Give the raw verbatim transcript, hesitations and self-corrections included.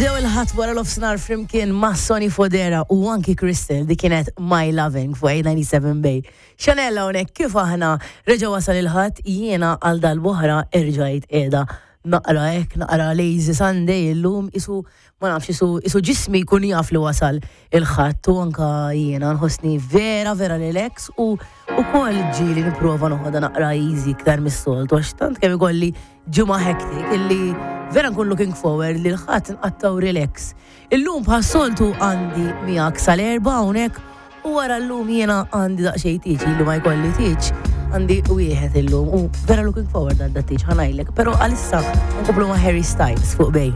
Nibdew il-Ħadd wara nofsinhar flimkien ma' Sonny Fodera u anki Crystal, di kienet My Loving fuq eight ninety-seven Bay. Chanel hawnhekk. Kif aħna, reġa' wasal il-Ħadd, jiena għal dal-boħra erġajt qiegħda naqra hekk, naqra lazy Sunday illum, isu ma nafx, isu isu ġismi jkun jaf li wasal il-Ħadd u anka jiena nħossni vera vera relax u ukoll ġieli nipprova noħodha naqra easy iktar mis-soltu, għax tant kemm ikolli ġimgħa hectic illi vera nkun looking forward li l-Ħadd nqattaw relax. Illum bħas-soltu għandi miegħek sal-erbgħa hawnhekk u wara llum jiena għandi daqsxejn tieġ, illu ma jkolli tieġ, għandi wieħed illum u vera looking forward għal dat-tieġ, ħa ngħidlek, però għalissa nkomplu ma' Harry Styles fuq Bay.